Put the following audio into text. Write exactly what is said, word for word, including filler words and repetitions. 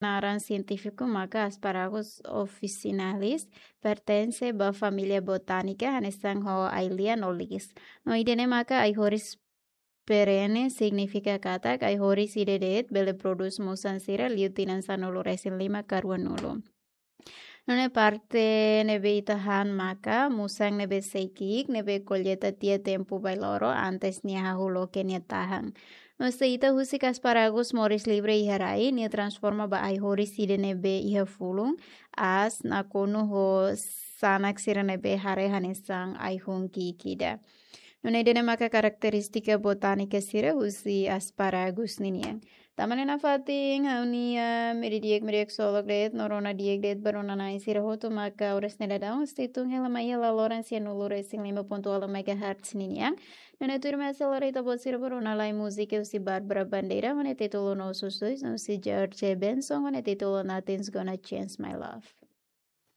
naran sientífiku maka Asparagus officinalis, pertense ba família botánike hanesan ho ai-lian no liis. No ida-ne'e maka ai-horis perene, signifika katak ai-horis ida de'it bele prodús musan sira liu tinan sanulu-resin-lima ka ruanulu. Nune'e parte ne'ebé ita han maka musan ne'ebé sei ki'ik, ne'ebé kolleita tiha tempu bailoro antes nia hahú loke nia tahan. No se ita husik asparagus moris livre iha rai, nia transforma ba ai-horis ida ne'ebé iha fulun, aas, nakonu ho sanak sira ne'ebé haree hanesan ai-hun ki'ik ida. Nune'e ida-ne'e maka karakterístika botánike sira husi asparagus ninian. Tanba ne'e nafatin ha'u-nia imi di'ak, imi di'ak ksolok de'it no rona di'ak de'it ba rona-na'in sira hotu maka oras ne'e daudaun husi tun hela mai iha laloran sianulu-resin-lima pontu ualu megahertz ninian. Nune'e tuirmai ha'u sei lori ita-boot sira ba rona lai múzika husi Bárbara Bandeira ho nia títulu Nossos Dois, no husi George Benson ho nia títulu Nothing's Gonna Change My Love.